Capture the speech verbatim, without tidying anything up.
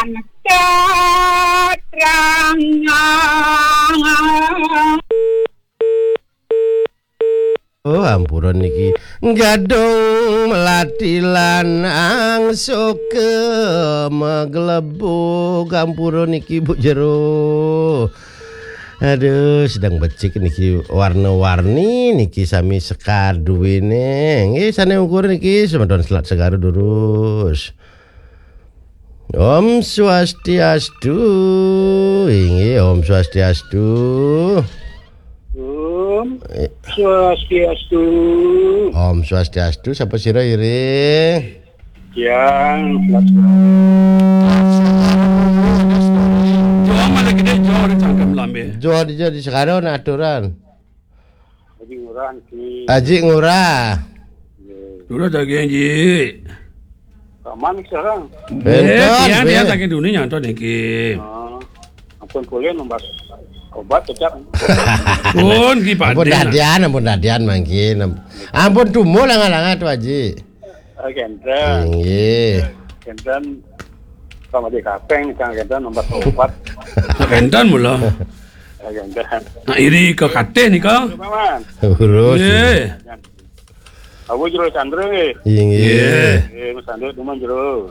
Oh, ampura niki. Gadung melati lanang suka meglebug. Ampura niki, Bu Jero. Aduh, sedang becik niki, warna-warni niki sami sekar duwene. Nggih, sane ukur niki semeton Selat Segara durus. Om Swastiastu. Inggih, Om Swastiastu. Om Eh. Swastiastu. Om Swastiastu, sapa sira iri? Yang Swastiastu. Jawab mana kita jawab di tangkam lambe. Jawab di, jawab di sekarang nak aturan. Haji Ngurah niki. Haji Ngurah. Nggih. Dulu daging ji. Kaman sekarang. Eh, Benton, tiang, tiang be. Saking dunia nyantos niki. Ah, ampun kuliah nombas obat cecak. Pun ki Ampun paden. Dadian, ampun dadian mangkin. Ampun tumuh langa-langa tu, Haji. Ah, kenten. Inggih. Kenten. Sama di kapeng nih, Kang, kenten nombas obat. Kenten mula. Ah, kenten. Nah, iri ke katih nika. Paman. Urus. Nggih. Abu Jero Chandra nggih. Inggih. Nggih. Eh, Mas Chandra, teman Jero.